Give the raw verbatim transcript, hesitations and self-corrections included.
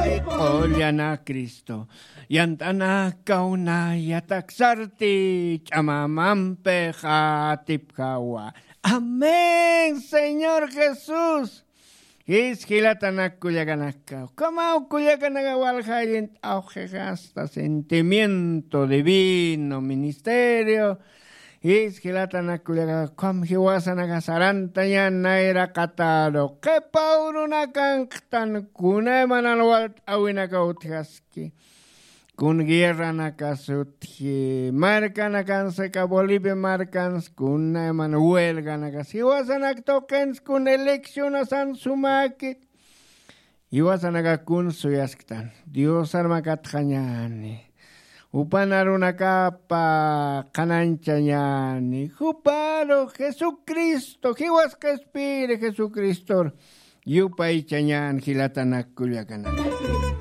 Q'ullana Cristo yant'anakaw naya taksarti ch'amamampi qatipkawa. Amén, Señor Jesús. Jis jilatanak kullakanaka, ukhamaw kullakanaka walja allin t'awqixasta sentimiento divino ministerio. Jis jilatanak kullakanaka, ukham jiwasanaka sarantañan nayraqataru qhipaw runakanqtan kunaymanan walt'awinaka utjaski. Kun guerranakas utji markanakansa ka Bolivia markans kunayman huelganakas jiwasanak tuqins kun eleccionasan sumakit. Jiwasanaka kun suyasktan diosarmakatxañani. Upan arunakapa qhanañchañani juparu jesucristo jiwas qhispiri jesucristor yupaychañan jilatanak kullakanaka.